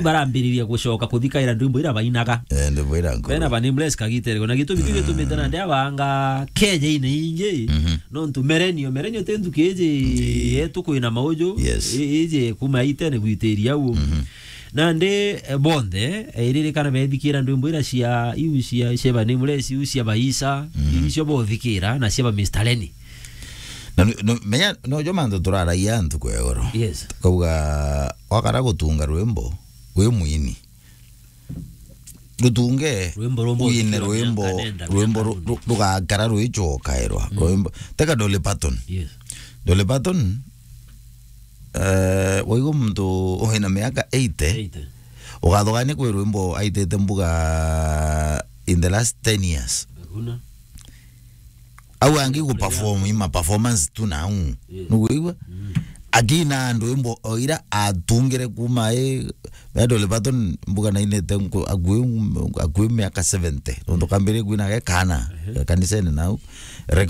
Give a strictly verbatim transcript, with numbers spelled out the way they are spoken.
barambiriria gucoka kuthikaira ndwimbo ira bainaga. Eh, ndwimbo ira nkuru. Bena ba Nameless kagitere. Na gitumi kiu gitumite nandi abanga keja ine ingi. Mhm. Nontu merenio, merenio ti nthuki iji yetu kwina mauju. Yes. I-, iji kuma itene gwitiria au. Mhm. Nandi, eh, bonthe, eh, iririkana bethikira ndwimbo ira cia, iu cia, cia ba Nameless, iu cia ba Isa, mhm, iu cio bothikira, na cia ba Mister Lenny. Na nu-, nu-, menya, nojo mantu turaragia ntuku ya igoro. Yes. Tukauga, wakara gutunga rwimbo, wi mwini. Rutunge, rwimbo rumwe uine rwimbo, rwimbo ru-, ru-, rugakara rwicokairwa. Mm. Rwimbo, teka Dolly Parton. Yes. Dolly Parton, eh, waigua muntu wina miaka eighty, eighty, ugathugania kwi rwimbo aitite mbuga in the last ten years. Hakuna. Au angi gu perform, ima performance tu na au. Yes. Nuguigua? Mm. Akina ndwimbo o ira atungire kuma i, Dolly Parton mbuga nainite nku-, akui, akui miaka seventy. Nontu kambire kwina ge kana, ehe, kanisene nau. Record